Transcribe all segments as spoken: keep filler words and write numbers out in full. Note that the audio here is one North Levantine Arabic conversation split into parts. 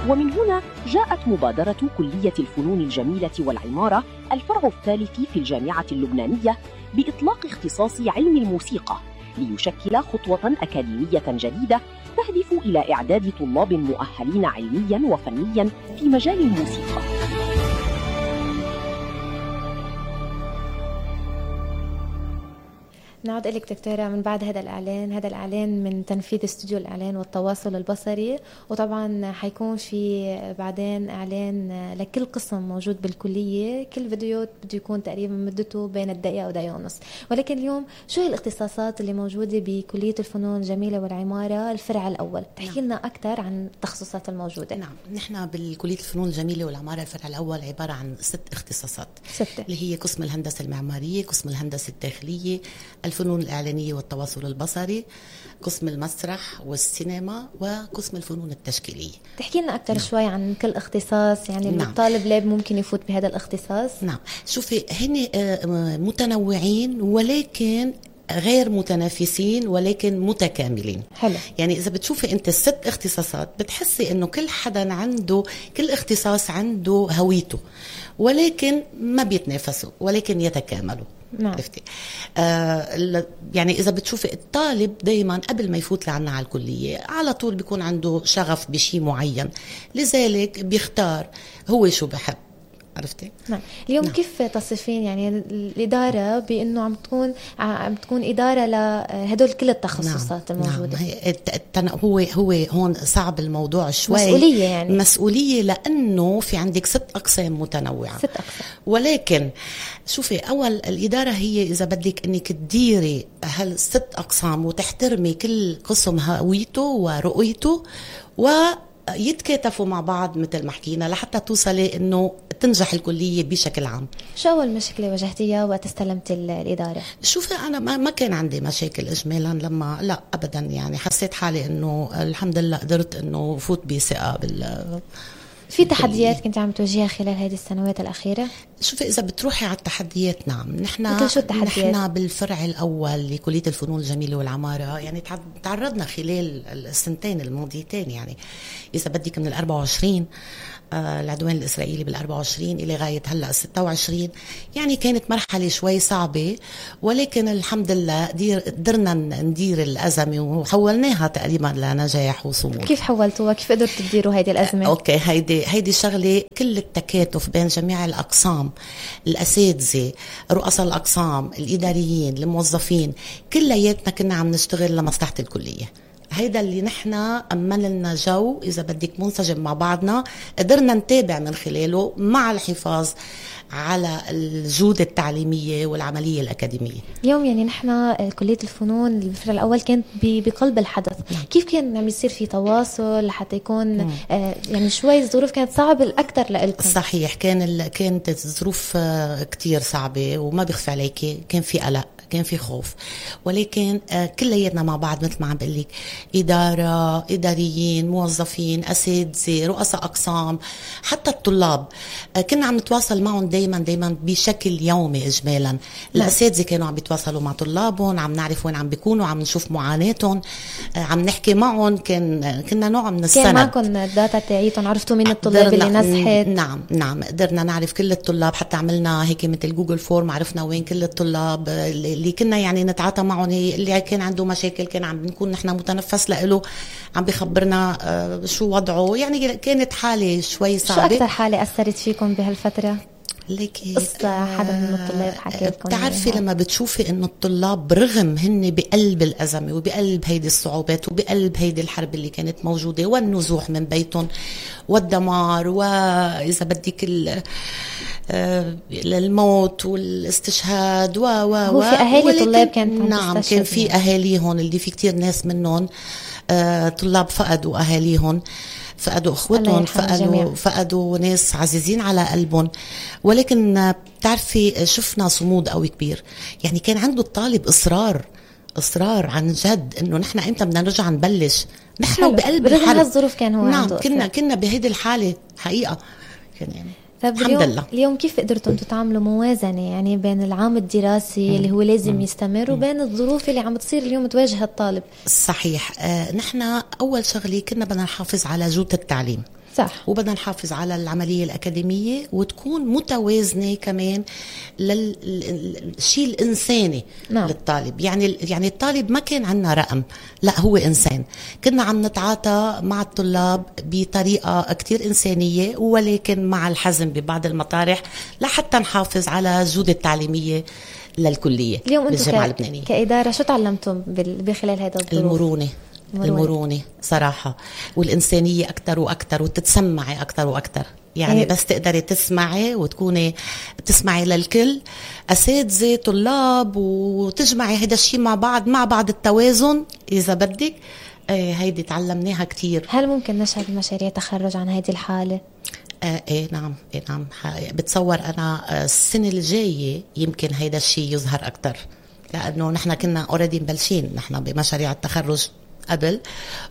ومن هنا جاءت مبادرة كلية الفنون الجميلة والعمارة الفرع الثالث في الجامعة اللبنانية بإطلاق اختصاص علم الموسيقى، ليشكل خطوة أكاديمية جديدة تهدف إلى إعداد طلاب مؤهلين علمياً وفنياً في مجال الموسيقى. نعود إليك دكتورة من بعد هذا الإعلان. هذا الإعلان من تنفيذ استوديو الإعلان والتواصل البصري، وطبعا حيكون في بعدين إعلان لكل قسم موجود بالكلية. كل فيديو بده يكون تقريبا مدته بين الدقيقة ودقيقة ونص. ولكن اليوم شو هي الاختصاصات اللي موجودة بكلية الفنون الجميلة والعمارة الفرع الأول؟ تحكي لنا أكثر عن التخصصات الموجودة. نعم، نحن بالكلية الفنون الجميلة والعمارة الفرع الأول عبارة عن ست اختصاصات، ستة، اللي هي قسم الهندسة المعمارية، قسم الهندسة الداخلية، الفنون الإعلانية والتواصل البصري، قسم المسرح والسينما، وقسم الفنون التشكيلية. تحكي لنا أكثر نعم. شوي عن كل اختصاص، يعني نعم. الطالب ليه ممكن يفوت بهذا الاختصاص؟ نعم، شوفي هن متنوعين ولكن غير متنافسين ولكن متكاملين. حلو. يعني إذا بتشوفي أنت الست اختصاصات بتحسي إنه كل حدا عنده، كل اختصاص عنده هويته، ولكن ما بيتنافسوا ولكن يتكاملوا. نعم. عرفتي؟ آه يعني إذا بتشوفي الطالب دايما قبل ما يفوت لعنا على الكلية على طول بيكون عنده شغف بشيء معين، لذلك بيختار هو شو بحب. عرفتي؟ نعم. اليوم نعم. كيف تصفين يعني الإدارة بأنه عم تكون عم تكون إدارة لهدول كل التخصصات نعم. الموجودة؟ نعم. هو هو هون صعب الموضوع شوي. مسؤولية يعني. مسؤولية لأنه في عندك ست أقسام متنوعة. ست أقسام. ولكن شوفي، أول الإدارة هي إذا بدك إنك تديري هالست أقسام وتحترمي كل قسم هويته ورؤيته و يتكاتفوا مع بعض مثل ما حكينا لحتى توصلي انه تنجح الكليه بشكل عام. شو اول مشكله واجهتيها وقت استلمت الاداره؟ شوفي انا ما, ما كان عندي مشاكل اجمالا، لما لا ابدا، يعني حسيت حالي انه الحمد لله قدرت انه فوت بثقه بال. في تحديات كنت عم تواجهها خلال هذه السنوات الأخيرة؟ شوفي إذا بتروحي على التحديات، نعم، نحن نحن بالفرع الأول لكلية الفنون الجميلة والعمارة يعني تعرضنا خلال السنتين الماضيتين، يعني إذا بدك من الأربعة وعشرين آه العدوان الإسرائيلي بالأربعة وعشرين إلى غاية هلأ ستة وعشرين، يعني كانت مرحلة شوي صعبة، ولكن الحمد لله قدرنا ندير الأزمة وحولناها تقريبا لنجاح وصمود. كيف حولتوها؟ كيف قدرتوا تديروا هيدي الأزمة؟ آه أوكي، هيدي هيدي شغلة كل التكاتف بين جميع الأقسام، الأساتذة، رؤساء الأقسام، الإداريين، الموظفين، كلياتنا كنا عم نشتغل لمصلحة الكلية. هيدا اللي نحن أمن لنا جو إذا بدك منسجم مع بعضنا، قدرنا نتابع من خلاله مع الحفاظ على الجودة التعليمية والعملية الأكاديمية. اليوم يعني نحن كلية الفنون الفرع الأول كانت بقلب الحدث، كيف كان عم يصير في تواصل لحتى يكون آه يعني شوي الظروف كانت صعبة الأكثر لإلكم؟ صحيح، كان كانت الظروف كتير صعبة وما بيخفى عليكي، كان في قلق، كان في خوف، ولكن آه كلياتنا مع بعض مثل ما عم بقول لك، إدارة، إداريين، موظفين، أساتذة، رؤساء أقسام، حتى الطلاب آه كنا عم نتواصل معهم دايما دايما بشكل يومي إجمالا. الأساتذة كانوا عم بيتواصلوا مع طلابهم، عم نعرف وين عم بيكونوا، عم نشوف معاناتهم، آه عم نحكي معهم، كان كنا نوع من السند. كان معكم الداتا تاعيتهم؟ عرفتوا مين الطلاب اللي نجحت؟ نعم نعم، قدرنا نعرف كل الطلاب، حتى عملنا هيك مثل جوجل فورم، عرفنا وين كل الطلاب اللي كنا يعني نتعاطى معهم، اللي كان عنده مشاكل كان عم نكون نحن متنفس لإله، عم بيخبرنا آه شو وضعه. يعني كانت حالة شوي صعبة. شو أكثر حالة أثرت فيكم بهالفترة؟ ليكي قصة حدا من الطلاب حكى لكم؟ بتعرفي لما بتشوفي انه الطلاب برغم هن بقلب الأزمة وبقلب هيدي الصعوبات وبقلب هيدي الحرب اللي كانت موجودة والنزوح من بيتهم والدمار وإذا بدك الموت والاستشهاد و و هو في أهالي طلاب كانت نعم، كان في أهاليهم اللي في كتير ناس منهم آه طلاب فقدوا أهاليهم، فقدوا اخوتهم، فقدوا فقدوا ناس عزيزين على قلبهم، ولكن بتعرفي شفنا صمود قوي كبير. يعني كان عنده الطالب اصرار اصرار عن جد انه نحن امتى بدنا نرجع نبلش، نحن بقلب الحرب. هالظروف كان هو نعم عنده كنا كنا بهيدي الحاله حقيقه. كان يعني طيب اليوم, اليوم كيف قدرتوا انتم تعملوا موازنة يعني بين العام الدراسي مم. اللي هو لازم مم. يستمر وبين الظروف اللي عم تصير اليوم تواجه الطالب؟ صحيح. آه نحن أول شغلة كنا بدنا نحافظ على جودة التعليم. صح. وبدنا نحافظ على العملية الأكاديمية وتكون متوازنة كمان للشيء الإنساني. نعم. للطالب. يعني يعني الطالب ما كان عنا رقم، لا هو إنسان. كنا عم نتعاطى مع الطلاب بطريقة كتير إنسانية، ولكن مع الحزم ببعض المطارح لحتى نحافظ على الجودة التعليمية للكلية. اليوم بالجامعة أنتم اللبنانية كإدارة شو تعلمتم بخلال هذا الظروف؟ المرونة. المرونة. المرونة صراحة، والإنسانية أكتر وأكتر، وتتسمعي أكتر وأكتر. يعني إيه؟ بس تقدري تسمعي وتكوني تسمعي للكل، أساتذة طلاب، وتجمعي هيدا الشيء مع بعض، مع بعض التوازن إذا بدك. ايه هيدي تعلمناها كتير. هل ممكن نشهد مشاريع تخرج عن هذه الحالة؟ آه ايه نعم ايه نعم بتصور انا السنة الجاية يمكن هيدا الشيء يظهر اكتر، لانه نحن كنا اوريدي مبلشين نحن بمشاريع التخرج قبل،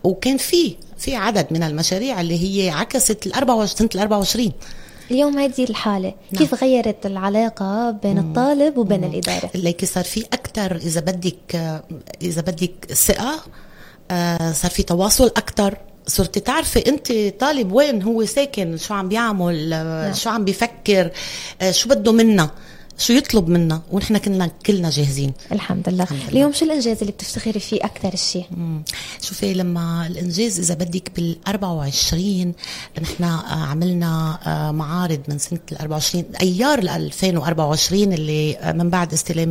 وكان في في عدد من المشاريع اللي هي عكست الأربعة وعشرين سنة الأربعة وعشرين. اليوم هذه الحالة نعم. كيف غيرت العلاقة بين مم. الطالب وبين مم. الإدارة؟ اللي صار في أكتر إذا بدك إذا بدك ثقة، آه صار في تواصل أكتر. صرتي تعرفي انت طالب وين هو ساكن، شو عم بيعمل، نعم. شو عم بيفكر، آه شو بده منا، شو يطلب منا، ونحن كنا كلنا جاهزين. الحمد لله. الحمد لله. اليوم شو الإنجاز اللي بتفتخري فيه أكتر الشيء؟ شوفي لما الإنجاز إذا بدك بالأربعة وعشرين نحن عملنا معارض من سنة الأربعة وعشرين أيار الألفين وأربعة وعشرين اللي من بعد استلام